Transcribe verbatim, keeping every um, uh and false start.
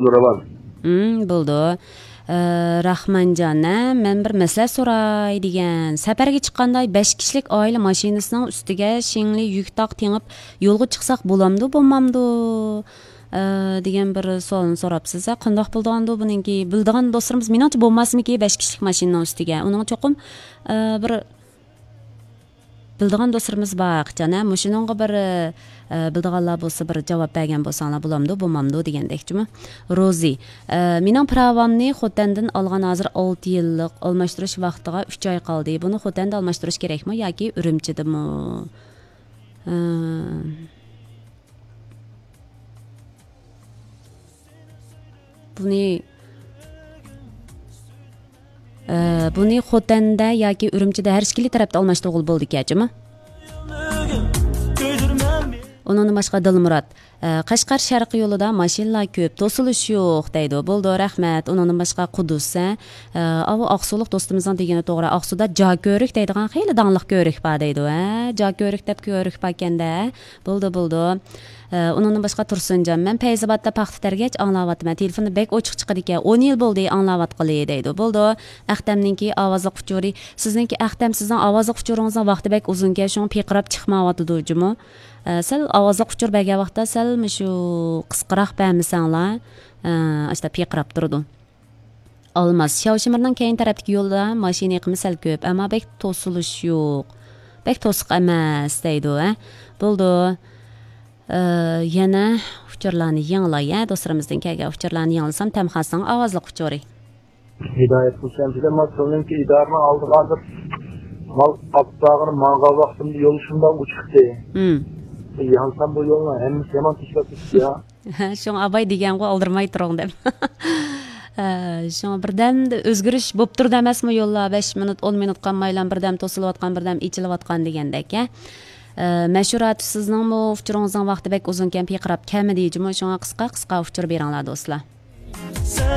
راۋان. ھىم، بولىدۇ. ئە، راخمانجان، ھە، مەن بىر مەسىلە سوراي دېگەن. سەپەرگە چىققاندا بەش كىشىلىك ئائىلە ماشىنىسىنىڭ ئۈستىگە شىڭلى يۈك تاق تېڭىپ يولغا چىقساق بولامدۇ، بولمامدۇ؟ ئە، دېگەن بىر سوئالنى سوراپسىز. ھە، قانداق بولىدىغاندۇ بۇنىڭكى؟ بىلىدىغان دوستلىرىمىز، مېنىڭچە بولماسمىكى بەش كىشىلىك ماشىنىنىڭ ئۈستىگە؟ ئۇنىڭغا چوقۇم، ئە، بىر بىلىدىغان دوستلىرىمىز بار، قىچان، ھە؟ مۇشۇنىڭغا بىر، ئە، بىلىدىغانلار بولسا، بىر جاۋاب بەرگەن بولساڭلار، بولامدۇ، بولمامدۇ دېگەندەكچىمۇ؟ روزى، ئە، مېنىڭ پىراۋامنى خوتەندىن ئالغان، ھازىر ئالتە يىللىق، ئالماشتۇرۇش ۋاقتىغا ئۈچ ئاي قالدى. بۇنى خوتەندە ئالماشتۇرۇش كېرەكمۇ ياكى ئۈرۈمچىدىمۇ؟ ئە، بۇنى، ئە، بۇنى خوتەندە ياكى ئۈرۈمچىدە ھەر ئىككىلى تەرەپتە ئالماشتۇرغىلى بولىدىكەنچىمۇ؟ ئۇنىڭدىن باشقا دىلمۇرات، ئە، قەشقەر شەرقىي يولىدا ماشىنىلار كۆپ، توسۇلۇش يوق دەيدۇ. بولىدۇ، رەھمەت. ئۇنىڭدىن باشقا قۇدۇس، ھە؟ ئە، ئاۋۇ ئاقسۇلۇق دوستىمىزنىڭ دېگىنى توغرا. ئاقسۇدا جا كۆرۈك دەيدىغان خېلى داڭلىق كۆرۈك بار دەيدۇ، ھە؟ جا كۆرۈك دەپ كۆرۈك باركەن-دە. بولىدۇ، بولىدۇ. ئە، ئۇنىڭدىن باشقا تۇرسۇنجان، مەن پەيزىبادتا پاختا تەرگەچ ئاڭلاۋاتىمەن. تېلېفوندا بەك ئوچۇق چىقىدىكەن. ئون يىل بولدى ئاڭلاۋاتقىلى دەيدۇ. بولىدۇ. ئەختەمنىڭكى ئاۋازلىق ئۇچۇرى. سىزنىڭكى ئەختەم، سىزنىڭ ئاۋازلىق ئۇچۇرىڭىزنىڭ ۋاقتى بەك ئۇزۇنكەن، شۇڭا پىرقىراپ چىقمايۋاتىدۇ جۇمۇ. ئە، سەل ئاۋازلىق ئۇچۇر بەرگەن ۋاقىتتا سەل مۇشۇ قىسقىراق بەرمىسەڭلار، ئە، ئاشتا پىرقىراپ تۇرىدۇ. ئالماس، شياۋشىمىرنىڭ كەينى تەرەپتىكى يولدا ماشىنا ئېقىمى سەل كۆپ، ئەمما بەك توسۇلۇش يوق. بەك توسۇق ئەمەس دەيدۇ، ھە؟ بولىدۇ. ئە، يەنە ئۇچۇرلارنى يېڭىلاي، ھە؟ دوستلىرىمىزدىن كەلگەن ئۇچۇرلارنى يېڭىلىسام، تەمخاسنىڭ ئاۋازلىق ئۇچۇرى. ھىدايەت ھۈسەن، بىلەن مانا سىلىنىڭكى ئىدارىنىڭ ئالدىغا ھازىر مال ئاپتاغىنى ماڭغان ۋاقتىمدا يول شۇنداق ئوچۇقتى. ھىم. يانسام بۇ يولنىڭ ھەممىسى يامان تۈزۈلۈپ كېتىپتۇ يا. شۇڭا ئاباي دېگەنغۇ، ئالدىرىماي تۇرۇڭ دەپ. ھە، شۇڭا بىردەم ئۆزگىرىش بوپ تۇرىدۇ ئەمەسمۇ يوللار؟ بەش مىنۇت، ئون مىنۇت قالمايلا بىردەم توسۇلۇۋاتقان، بىردەم ئېچىلىۋاتقان دېگەندەك، ھە. ئە، مەشھۇر ئاتۇش، سىزنىڭمۇ ئۇچۇرىڭىزنىڭ ۋاقتى بەك ئۇزۇنكەن، پىرقىراپ كەلمىدى جۇمۇ، شۇڭا قىسقا قىسقا ئۇچۇر بېرىڭلار دوستلار.